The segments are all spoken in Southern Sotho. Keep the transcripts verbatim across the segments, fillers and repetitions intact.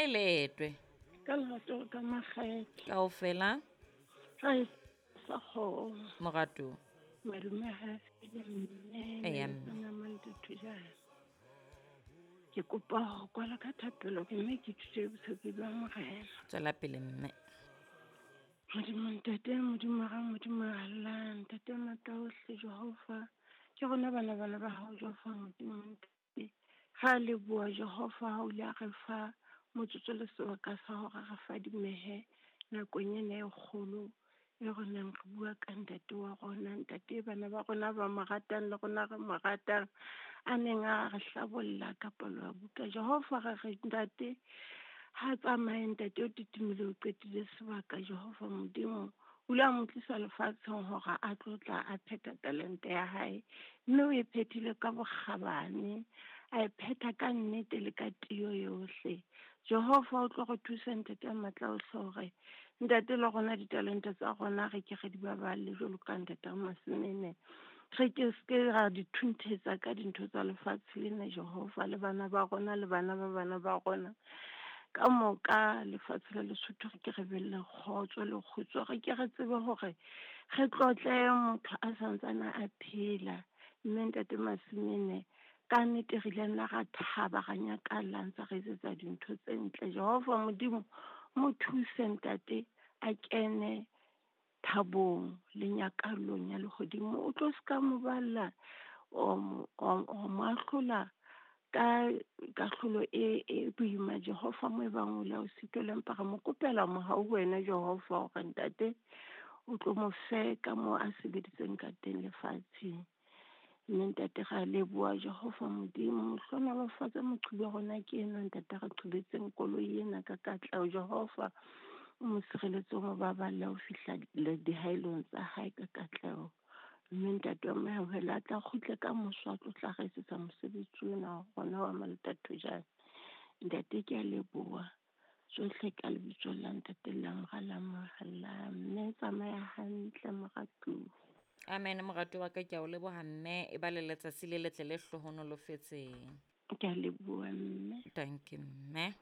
Kae leetwe? Ka lerato ka makgethe. Kaofela? Ga e sa kgomo. Morato. Madume ha fele mme. Eya, mme. Nna Maletothojana. Ke kopa ho kwala ka thapelo ke mme ke thuse botshepi ba Morena. Tswela pele mme. Modimo ntate, Modimo ra Modimo Allah, ntate matla ohle Jehova. Ke rona bana bana ba hao Jehova Modimo ntate. Ra leboha Jehova ha o ile a re fa motsotso le sebaka sa hore re fadimehe nakong ena e kgolo e re neng re bua ka ntate wa rona, ntate bana ba rona ba mo ratang le rona re mo ratang, a neng a re hlabolla ka palo ya buka. Jehova re re ntate ha tsamaye ntate o titimile o qetile sebaka Jehova Modimo. O ile a mo tlisa lefatsheng hore a tlo tla a phetha talente ya hae, mme o e phethile ka bokgabane, a e phetha ka nnete le ka tiyo yohle. Jehova o tlo re thusa ntate a matla ohle hore ntate le rona ditalente tsa rona re ke re di baballe jwalo ka ntate Masemene. Re ke se ra di thunthetsa ka dintho tsa lefatshe lena Jehova, le bana ba rona le bana ba bana ba rona. Ka moka lefatshe la Lesotho re ke re be le kgotso le kgutso, re ke re tsebe hore re tlotle motho a santsane a phela. Mme ntate Masemene ka nnete re ile nna ra thaba ra nyakalla ntse re etsetsa dintho tse ntle. Jehova Modimo mo thuse ntate a kene thabong le nyakallong ya lehodimo. O tlo ska mo balla o mo o mo ahlola ka kahlolo e e boima Jehova mo e bang o la o sitwa, empa re mo kopela mohau ho wena Jehova hore ntate o tlo mo fe ka moo a sebeditseng ka teng lefatsheng. Mme ntate ra leboha Jehova Modimo, hlohonolofatse moqhubi wa rona ke enwa ntate re qhubetseng koloi ena ka katleho. Jehova o mo sireletse, o mo baballe ho fihla dihaelong tsa hae ka katleho. Mme ntate wa Mohauhelo a tla kgutle ka moso a tlo tla re etsetsa mosebetsi ona wa rona wa Maletathojana. Ntate ke a leboha tsohle ka lebitso la ntate la Mora la Mohala. Mme tsamaya hantle moratuwa. Amen moratuwa wa ka, ke a o leboha mme, e ba le letsatsi le letle le hlohonolofetseng. Ke a leboha mme. Thank you mme.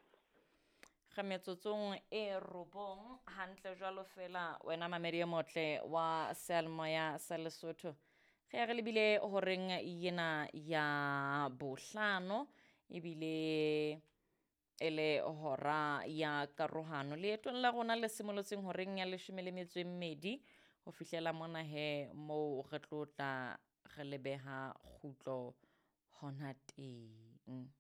Re metsotsong e robong hantle jwalo fela wena mamedi e motle wa seyalemoya sa Lesotho. Re ya re lebile horeng yena ya bohlano ebile e le hora ya karohano. Leetong la rona le simolotseng horeng ya leshome le metso e mmedi ho fihlela mona he moo re tlo tla re lebeha kgutlo hona teng.